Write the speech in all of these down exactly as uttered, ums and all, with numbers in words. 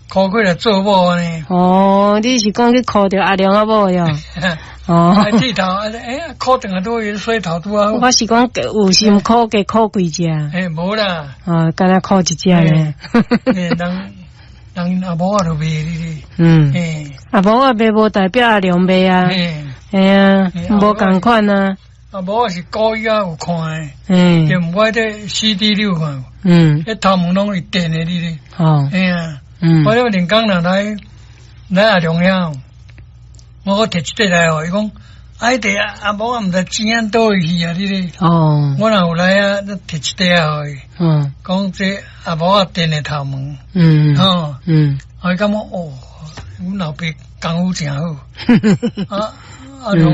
call 過來做某呢。哦，你是講去箍著阿良仔某喲？哦，剃頭，欸，箍轉來拄洗頭拄啊。我是講有心箍加箍幾隻。欸，無啦。哦，敢若箍一隻呢。欸，人人阿某仔就賣你。嗯。欸，阿某仔賣無代表阿良賣啊。欸啊，無仝款啊。阿某仔是古伊仔有看的。嗯。就毋我這 C D 你有看無？嗯。彼頭毛攏是電的，你咧。哦。欸啊。嗯。我咧連工人來來阿良遐，我閣提一塊來哦，伊講，啊，彼塊阿某仔毋知錢按佗位去啊，你咧。哦。我若有來啊，提一塊啊，予伊。嗯。講這阿某仔電的頭毛。嗯。吼。嗯。啊，伊感覺哦，阮老爸功夫誠好。啊，阿良，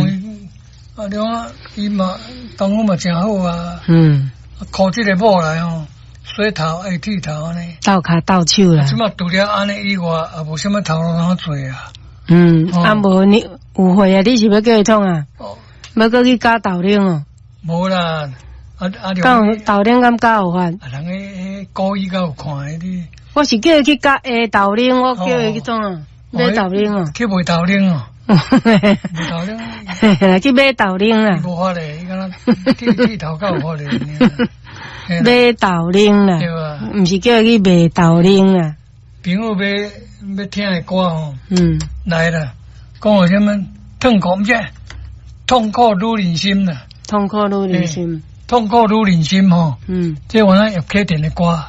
阿良啊，伊嘛功夫嘛誠好啊。嗯。箍這个某來吼，洗頭愛剃頭按呢。鬥跤鬥手啦。這馬除了按呢以外，也無啥物頭路通做啊。嗯，啊無你有會啊？你是欲叫伊創啊？哦。欲閣去絞豆奶哦？無啦，啊啊！敢豆奶敢絞有法？啊，人彼彼古語較有看的你。我是叫伊去絞下豆奶，我叫伊去創啊？買豆奶哦。去賣豆奶哦。賣豆奶。去買豆奶啦。無法咧，伊敢若剃剃頭較有法咧。買豆奶啦。對啊。毋是叫伊去賣豆奶啦。朋友欲欲聽的歌吼，嗯，來啦，講話啥物痛苦，毋是痛苦女人心啦，痛苦女人心，痛苦女人心吼，嗯，這原來葉啟田的歌。